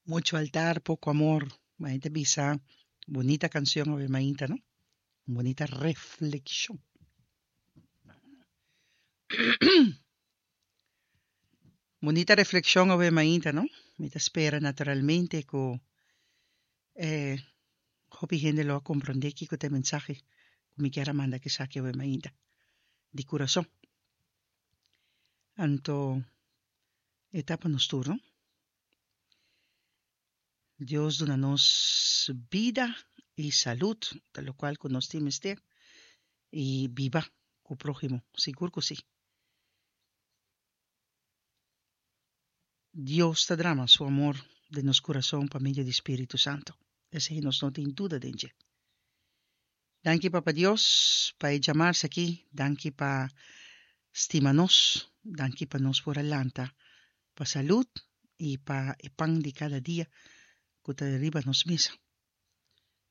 Mucho altar, poco amor. Ma ta bisa bunita cancion awe mainta, no? Un bunita reflexion. Bunita reflexion awe mainta, no? Mi ta spera naturalmente cu eh, hopi hende lo a comprende kico ta e mensahe cu mi kier a manda kisaki awe mainta. Di curason. Anto e ta pa nos tur, no? Dios duna nos bida y salud, ta locual cu nos tin mester, y biba cu prohimo, sigur cu si. Dios ta drama su amor den nos curason pa medio di Spiritu Santo, esey nos no tin duda den dje. Danki Papa Dios pa e djamarse aki, danki pa stima nos, danki pa nos por a lanta pa salud y pa e pan di cada dia cu ta riba nos mesa.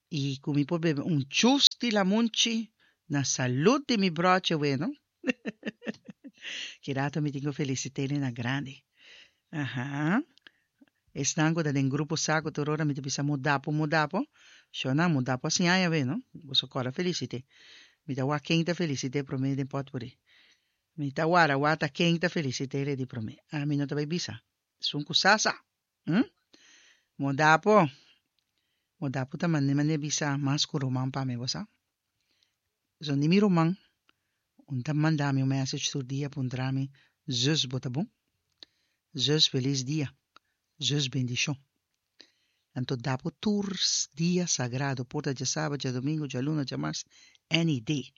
Y cu mi por bebe un chus di lamunchi na salud di mi broche weno. Ki rato mi tin cu felicit'e na grandi. Aha. Esnan ku ta den grupo sa ku tur ora mi ta bisa mudapo, mudapo. Shona, mudapo a siña ya be, no? Boso kòrda felisit'é. Mi ta wak ken ta felisit'é promé den pòtpuri. Mi ta wara wak ta ken ta felisit'é redi promé. Ami no ta bai bisa. Esun ku sa, sa. Hm? Mudapo. Mudapo ta mane mane bisa mas ku ruman pa mi, bo sa. So ni mi ruman un ta manda mi un message tur dia puntra mi, Zus bo ta bon? Zus felis dia, zus bendishon. Anto da bo tur dia sagrado, por ta djasabra, djadomingo, djaluna, djamars, any day.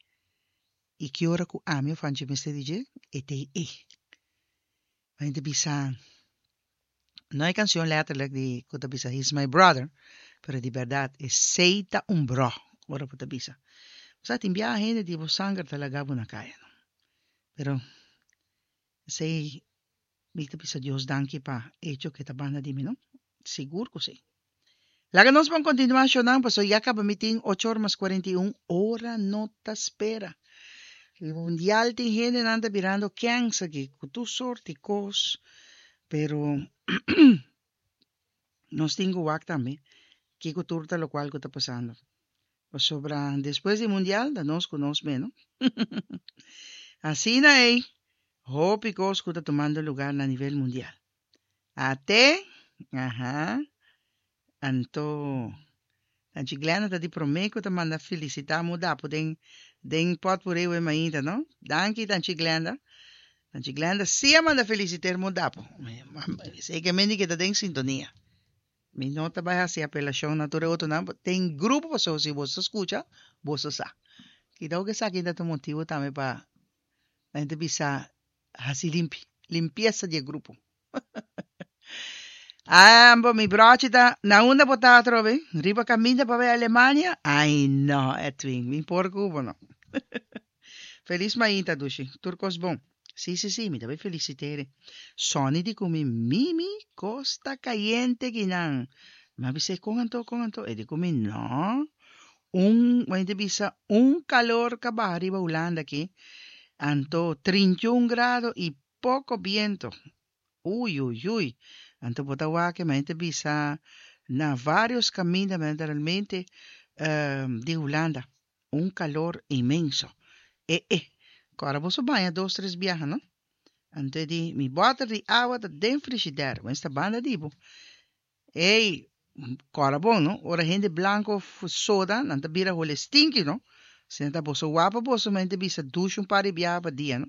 I ki ora ku ami of Angie mester di dje, e t'ei e. Ma hende bisa, no e canción letterlijk di cu ta bisa he's my brother, pero di berdad esey ta un bro, ora bo ta bisa. Bo sa tin biaha hende di bo sanger ta laga bo na caya no. Pero esey mi ta bisa Dios danki pa hecho cu e ta banda di mi no. Sigur cu si. Laga nos ban continua shownan paso ya caba mi tin ocho or mas 41 ora no ta spera. E mundial tin hendenan ta birando kens aki cu tur soort di cos pero nos tin cu wak tambe kico tur ta locual cu ta pasando pasobra despues di mundial ta nos cu nos meno. Asina ey hopi cos cu ta tumando lugar na nivel mundial. Ate, aha. Anto, Tanchi Glenda ta di promé ku ta manda felisitá Mudapu den den pòtpuré we mainta, no? Danki, Tanchi Glenda. Tanchi Glenda sí a manda felisiter Mudapu. Esei ke mende ke ta den sintonia. Mi no ta bai hasi apelashon na tur e otronan, den grupo pasobra si boso ta skucha, boso sa. Kidao ku esaki ta un motibu tambe pa nan ta bisa Hasi limpi, limpiesa di e grupo. Ambo, mi brochi ta, na unda bo ta atrobe? Riba kaminda pa bai Alemania? Ai no, Edwin, mi por ku bo no. Felis mainta, dushi. Tur kos bon. Si, si, si, mi ta bai felisit'é. Sonny di ku mi, Mimi, kos ta kayente kinan. Mi a bis'é, kon anto, kon anto? E di ku mi, no. Un, bo ta bisa, un calor ka baha riba Hulanda aki, anto 31 grado y poco biento. Uy, uy, uy. Anto bo ta wak, mi ta bisa na varios caminda, realmente, di Hulanda, un calor inmenso. E, e, cu ora boso baña dos, tres biaha, no? Anto e di, mi boter di awa ta den frigidaire, bo esta banda di bo. Ey, kòrda bon no, ora hende blanko soda, nan ta bira hole stinky no. Si nan ta boso wapa boso mente bisa dushi un par di biaha pa dia no.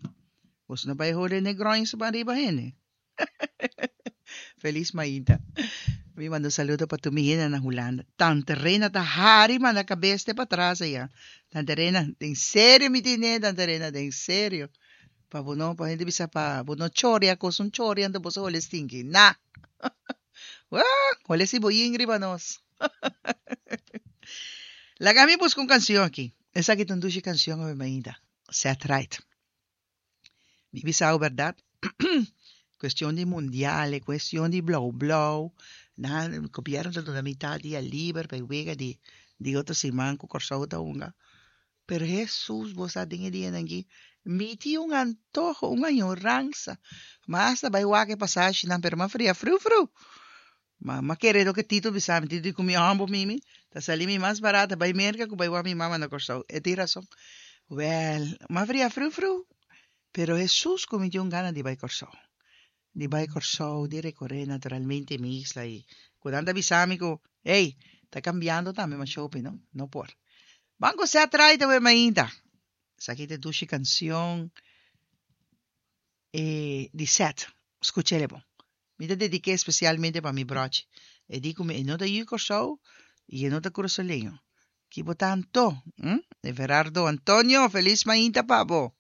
Boso no bai hole negroins ban riba hende. Felis mainta. Mi manda un saludo pa tur mi hende na Hulanda. Tante Rena ta hari manda kabes te patras aya. Tante Rena, den serio mi tine, Tante Rena, den serio. Pa bo no, pa hende bisa pa bo no choria kos un choria anto boso hole stinky. Na! Wah! Hole si boyin riba nos. Laga mi buska un kansion aki. Esaki ta un dushi kansion awe mainta. Set right. Mi bisa bo bèrdat, kuestion di mundial, e kuestion di blou blou, nan gobièrnu ta duna mitad dia liber pa e wega di di otro siman ku Kòrsou ta hunga. Pero Hesus, bo sa den e dianan aki, mi tin un antoho, un añoransa. Mi a hasta bai wak e pasashinan, pero mi a fria friu friu. Ma m'a kere loke Tito bisa mi. Tito di ku mi hòmber mimi ta sali mi mas barata bai Merka ku bai wak mi mama na Kòrsou. E tin rason. Wèl, m'a fria fru fru. Pero Hesus ku mi tin un gana di bai Kòrsou. Di bai Kòrsou, di rekoré naturalmente mi isla i ku nan ta bisa mi ku, ey, ta kambiando tambe masha hopi no. No por. Ban ku Seth Wright awe mainta. Esaki ta e dushi kansion e di Seth. Skuch'el e bon. Mi ta dedik'é spesialmente pa mi brochi. E di ku mi e no ta yu Kòrsou i e no ta kurasoleño. Ki bo ta anto? Hm? Everardo Antonio, felis mainta pa bo!